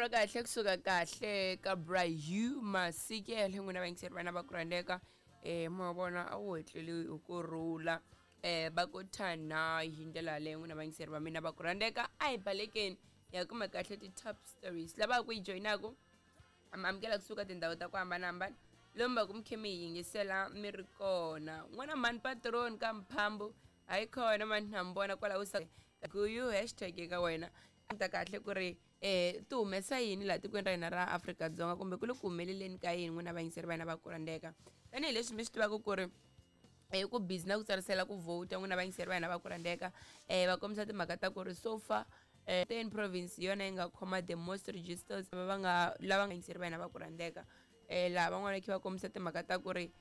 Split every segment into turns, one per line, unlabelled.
Risimu ra kahle kusuka kahle ka Bra Hugh Masikela, n'wina vayingiseri vana va ku rhandzeka. Ma vona a wu hetleli hi ku rhula, va ku thana hi ndlela yaleyo. N'wina vayingiseri va mina va ku rhandzeka, a hi balekeni hi ya kuma kahle ti-top stories. Lava ku yi joyinaku mi amukela kusuka tindhawu ta ku hambanahambana lomu va ku mi khe mi hi yingisela mi ri kona. N'wana mhani patron ka mphambu hayi kona mani, na mi vona kwalaho sa guyu hashtag eka wena ta kahle ku ri ti humesa yini laha tikweni ra hina ra Afrika-Dzonga, kumbe ku le ku humeleleni ka yini, n'wina vayingiseri va hina va ku rhandzeka. Tanihileswi mi swi tivaka ku ri ku busy na ku tsarisela ku vote, n'wina vayingiseri va hina va ku rhandzeka, va kombisa timhaka ta ku ri so far Eastern Province hi yona yi nga khoma the most registers va nga lava nga yingiseri va hina va ku rhandzeka. Laha van'wana va kha va kombisa timhaka ta ku ri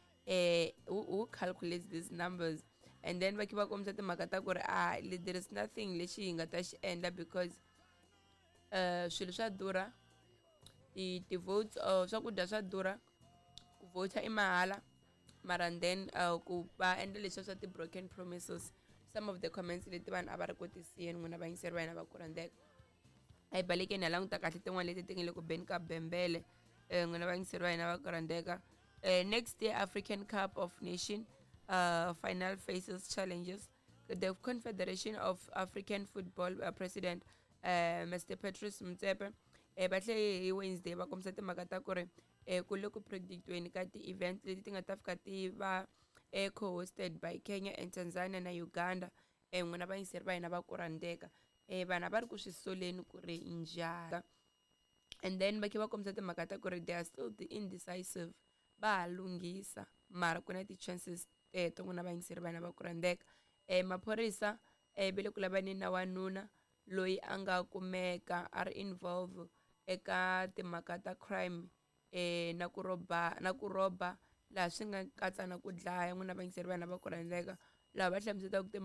who calculates these numbers, and then va kha va kombisa timhaka ta ku ri ah, there is nothing lexi hi nga ta xi endla because swilo swa durha, ti-votes, swakudya swa durha, ku vote i mahala, mara and then ku va endla leswiya swa ti-broken promises. Some of the comments leti vanhu a va ri ku tisiyeni, n'wina vayingiseri va hina va ku rhandzeka. A hi balekeni hi languta kahle tin'wana leti ti nga le ku beni ka bembele, n'wina vayingiseri va hina va ku rhandzeka. Next year African Cup of Nation final faces challenges. The Confederation of African Football president, Mr Patrice Motsepe, va tlhe hi Wednesday va kombisa timhaka ta ku ri ku le ku predictweni ka ti-event leti ti nga ta fika ti va co-hosted by Kenya and Tanzania na Uganda. N'wina vayingiseri va hina va ku rhandzeka, vanhu a va ri ku swi soleni ku ri njhani, and then va khe va kombisa timhaka ta ku ri they are still the indecisive, va ha lunghisa, mara ku na ti-chances teto, n'wina vayingiseri va hina va ku rhandzeka. Maphorisa va le ku lavaneni na wanuna loyi a nga kumeka a ri involve eka timhaka ta crime na ku rhoba, laha swi nga katsa na ku dlaya, n'wina vayingiseri va hina va ku rhandzeka, laha va hlamuselaka timhaka.